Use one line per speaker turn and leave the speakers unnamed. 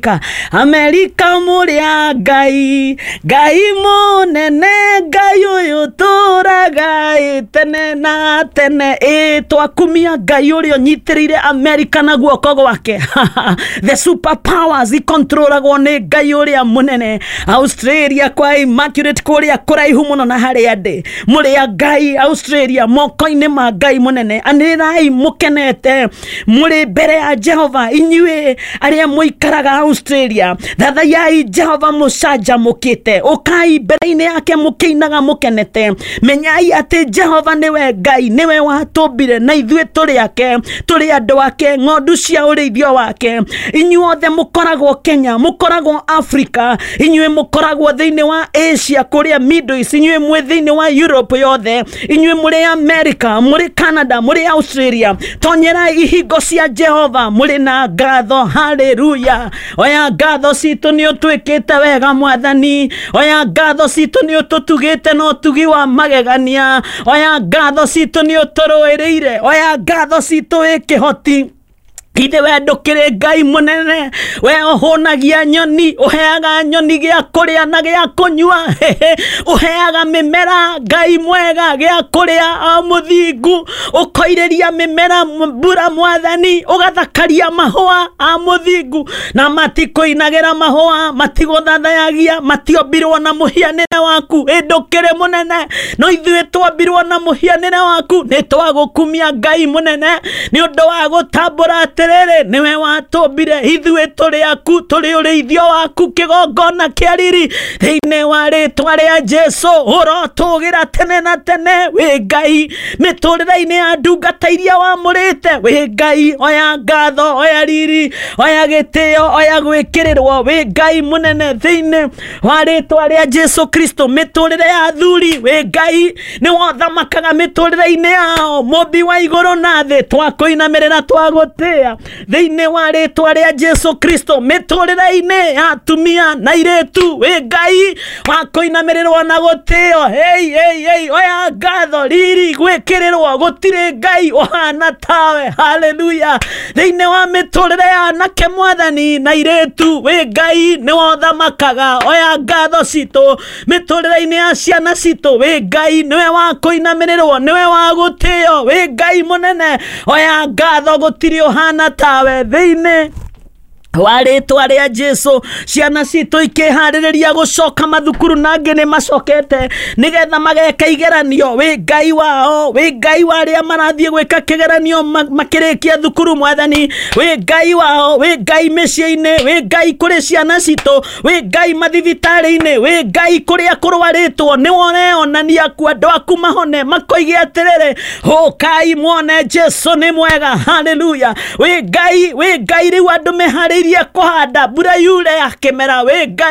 Amerika. Amerika mũrĩ a Ngai, Ngai mũnene, Ngai ũyũ tũraga ĩ tene na tene. Ĩ twakumia Ngai ũrĩa ũnyitĩrĩire Amerika na guoko gwake. The super powers ikontrolagwo nĩ Ngai ũrĩa mũnene. Australia kwa Immaculate kũrĩa kũraihu mũno na harĩa ndĩ, mũrĩ a Ngai Australia, moko-inĩ ma Ngai mũnene. Anĩrĩrai mũkenete mũrĩ mbere ya Jehova, inyuĩ arĩa mũikaraga Australia. Thathayai Jehova mũcanjamũkĩte, ũkai mbere-inĩ yake mũkĩinaga mũkenete. Menyai atĩ Jehova nĩwe Ngai, nĩwe watũmbire na ithuĩ tũrĩ ake, tũrĩ andũ ake, ng'ondu cia ũrĩithio wake. Inyuothe mũkoragwo Kenya, mũkoragwo Africa, inyuĩ mũkoragwo thĩinĩ wa Asia kũrĩa Middle East, inyuĩ mwĩ thĩinĩ wa Europe yothe, inyuĩ mũrĩ America, mũrĩ Canada, mũrĩ Australia, tonyerai ihingo cia Jehova mũrĩ na ngatho. Haleluya! Oya ngatho citũ, nĩ ũtwĩkĩte wega Mwathani. Oya ngatho citũ, nĩ ũtũtugĩte na ũtugi wa magegania. Oya ngatho citũ, nĩ ũtũrũĩrĩire. Oya ngatho citũ, wĩ kĩhoti. Ithe we ndũkĩrĩ Ngai mũnene, we ũhũnagia nyoni, ũheaga nyoni gĩa kũrĩa na gĩa kũnyua, ũheaga mĩmera, Ngai mwega, gĩa kũrĩa o mũthingu, ũkoirĩria mĩmera mbura Mwathani, ũgathakaria mahũa a mũthingu, na matikũinagĩra mahũa, matigũthathayagia, matiombirwo na mũhianĩre waku. Ĩ ndũkĩrĩ mũnene, no ithuĩ twombirwo na mũhianĩre waku. Nĩ twagũkumia Ngai mũnene nĩ ũndũ wa gũtambũra atĩrĩrĩ, nĩwe watũmbire, ithuĩ tũrĩ aku, tũrĩ ũrĩithio waku, kĩgongona kĩa riri. Thĩinĩ wa rĩtwa rĩa Jesu, ũrotũgĩra tene na tene. Wĩ Ngai mĩtũrĩre-inĩ ya ndungata iria wamũrĩte. Wĩ Ngai, oya ngatho, oya riri, oya gĩtĩo, oya gwĩkĩrĩrwo. Wĩ Ngai mũnene thĩinĩ wa rĩtwa rĩa Jesu Kristo. Mĩtũrĩre ya athuri, wĩ Ngai, nĩ wothamakaga mĩtũrĩre-inĩ yao, mũmbi wa igũrũ na thĩ, twakũinamĩrĩra, twagũtĩa thĩinĩ wa rĩtwa rĩa Jesu Kristo. Mĩtũrĩre-inĩ ya atumia na irĩtu, wĩ Ngai wa kũinamĩrĩrwo na gũtĩo. Hey, hey, hey, oya ngatho, riri, gwĩkĩrĩrwo, gũtirĩ Ngai ũhana tawe. Haleluya! Thĩinĩ wa mĩtũrĩre ya anake Mwathani na irĩtu, wĩ Ngai, nĩ wothamakaga. Oya ngatho citũ. Mĩtũrĩre-inĩ ya ciana citũ, wĩ Ngai, nĩwe wa kũinamĩrĩrwo, nĩwe wa gũtĩo. Wĩ Ngai mũnene, oya ngatho, gũtirĩ ũhana tawe thĩinĩ wa rĩtwa rĩa Jesu. Ciana citũ ikĩharĩrĩria gũcoka mathukuru, na angĩ nĩ macokete nĩgetha mageka igeranio, wĩ Ngai wao, wĩ Ngai wa arĩa marathiĩ gwĩka kĩgeranio makĩrĩkia thukuru Mwathani, wĩ Ngai wao, wĩ Ngai mĩciĩ-inĩ, wĩ Ngai kũrĩ ciana citũ, wĩ Ngai mathibitarĩ-inĩ, wĩ Ngai kũrĩa kũrwarĩtwo, nĩ ũreonania ku andũ aku mahone, makoige atĩrĩrĩ, "Ũkai muone Jesu nĩ mwega." Haleluya! Wĩ Ngai, wĩ Ngai. Rĩu andũ meharĩirie kũhanda, mbura yure ya kĩmera, wĩ Ngai.